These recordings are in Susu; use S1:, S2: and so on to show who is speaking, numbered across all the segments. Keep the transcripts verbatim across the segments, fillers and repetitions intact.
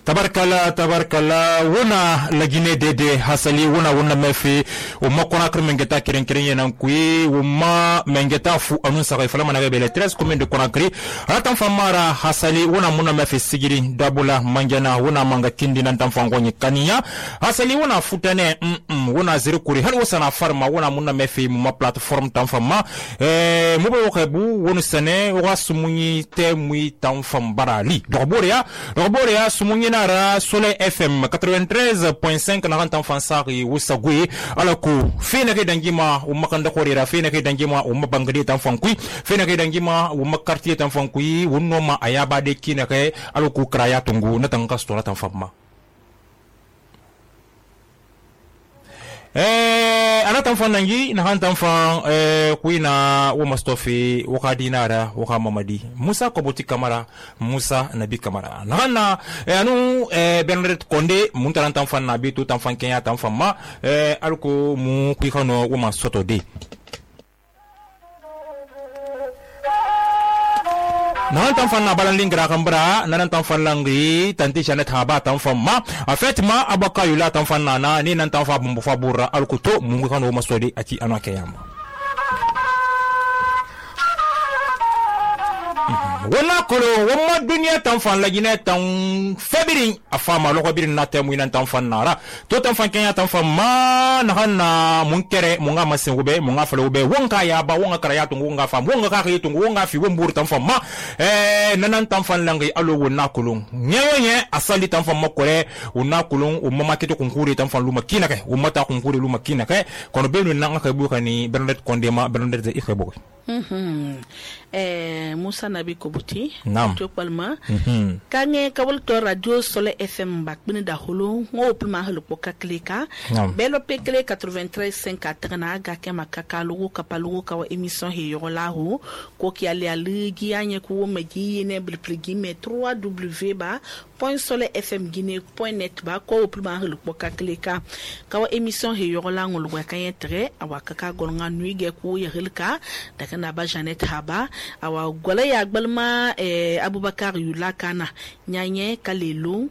S1: tabarkala tabarkala wona lagine dede hasali wona wona mefi umma kona kr mengeta keren keren yenan kui umma mengeta fu anun sa fala mana bele treize commune de Conakry ratan famara hasali wona muna mefi sigiri dabula manjana wona manga kindi nan tan fangonyi kaniya hasali wona futane mm, -mm wona ziri kuri hal wasana farma wona muna mefi ma platform tan fama eh mubo wokebu wonu sane wa sumunyi te mui tan fam barali doboria doboria sumunyi nara Soleil F M quatre-vingt-treize point cinq na rantan fansari wusagui alaku fina ke dangima umma kanda korira fina ke dangima umma bangadi tan fankui fina ke dangima umma quartier tan fankui wonno ma ayaba de kina ke alaku kraya tungu na tan kastora tan famma eh anatan fanangi na hantan fan eh kuina wo mastofi wo kadinara wo mamadi Musa Koboti Kamara Musa Nabi Kamara nana eh anu eh Bernard Konde muntarantan fan nabi to tan fan kenya tan famma eh alko mu kuikano wo masoto de nan tan fan na balan lingra kambra nan tan fan langri tanti chane thaba tan fan ma en fait ma abaka yula tan fan nana ni nan tan fa bumbu fa burra alkuto mungu kano masodi ati anake yama wala kolo wama dunia tan fan lagine tan febirin afama loko birin na temu nan tan fan nara to tan fan kenya tan fan ma na hanna munkere munga masin ube munga falo ube wonga ya ba wonga kara ya tungu wonga fam wonga ka yi tungu wonga fi wombur tan fan ma eh nanan tan fan langi alo wona kulun nyenye asali tan fan makore wona kulun umma kito kunkuri tan fan luma kinake umma ta kunkuri luma kinake kono benu nanga ka bukani Bernard Kondema Bernard ze ikhebo
S2: mhm eh Musa Nabi Koboti
S1: Nam.
S2: to palma
S1: mhm
S2: kange kawal to radio Soleil F M bak bin da holo ngo pluma holo poka klika belo pekle quatre-vingt-treize cinq atana ga ke makaka lugo kapalugo kawa emission he yola ho ko ki ale aligi anye ko magi ne blpligi me trois w ba point soleil fm guinée point net ba ko pluma holo poka klika kawa emission he yola ngolo ga kanye tre awaka ka golnga nuige ko yelka daga na ba Janet Haba awa gola ya gbalma eh, Abubakar Yula Kana nyanye kalelu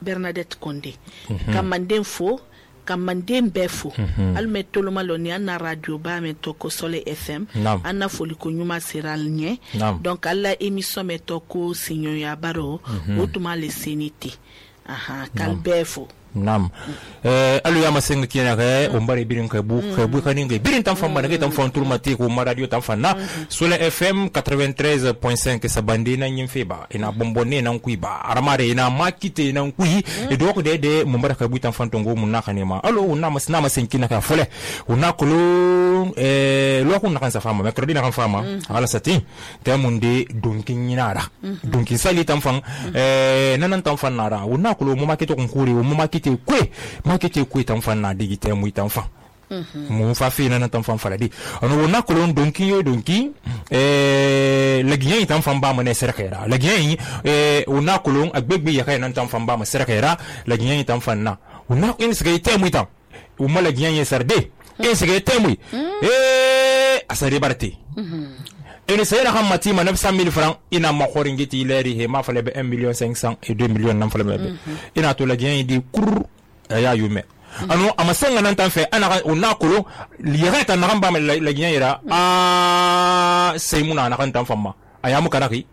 S2: Bernadette Konde mm -hmm. kamande fo kamande mbefo mm -hmm. almetolo maloni ana radio ba metoko Soleil F M ana foli ko nyuma siral nye Nam. Donc alla émission metoko sinyo ya baro mm -hmm. utuma le seniti aha kalbefo
S1: Nam. Eh alu ya masenga kina ke umbari birin ke bu ke bu kaninge birin tan famba ke tan fon turmati ko ma radio tan fanna Soleil F M quatre-vingt-treize point cinq sabandi na nyimfeba ina bombone nan kuiba aramare ina makite nan kui e do ko de de mumbara ke bu tan fantongo mun nakanema alu una masna masenkina ka fole una kulu eh lo ko nakan sa fama mercredi nakan fama ala sati temunde donkin nyinara donkin sali tan fan eh nanan tan fanara una kulu mu makito kun kuri mu makito kwe makete kwe tan fan na digite mu tan fan mu fa fi na tan fan faradi ono wona kolon donki yo donki eh lagiyen tan fan ba mu ne serkera lagiyen eh wona kolon agbegbe ya kai nan tan fan ba mu serkera lagiyen tan fan na wona in siga ite mu tan o ma lagiyen ye sarde in siga ite mu eh asari barti ene sayra hamati ma neuf cent mille francs ina ma khoringiti leri he ma fale be un million cinq cents et deux millions nan fale be ina to la gien di kur ya yume ano amasenga nan tan fe ana ona kolo lireta na ramba la gien ira a seymuna na kan tan famma ayamu kanaki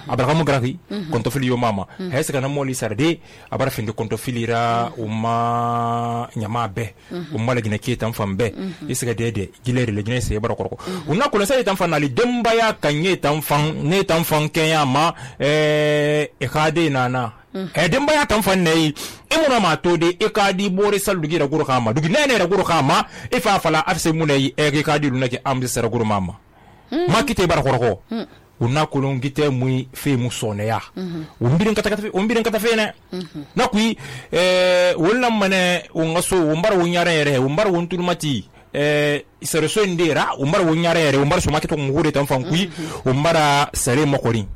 S1: Abraham Graki konto fili yo mama hesa kana moli sarde abara finde konto filira uma nyama be umma la gina ketan fambe isiga dede gileri le gina se bara korko una ko sai tan fanali demba ya kanye tan fan ne tan fan kenya ma eh e khade nana e demba ya tan fan nei imuna ma to de e kadi bore sal dugi da guru kama dugi nene da guru kama e fa fala afse munai e ke kadi lunaki amdi sara guru mama makite bara korko una kolon gite muy fe mu soneya umbirin kata kata umbirin kata fe ne na kui eh wala mane ungaso umbar wunyare yere umbar wontul mati eh isere so ndera umbar wunyare yere umbar so makito ngure tan fan kui umbara sare makorin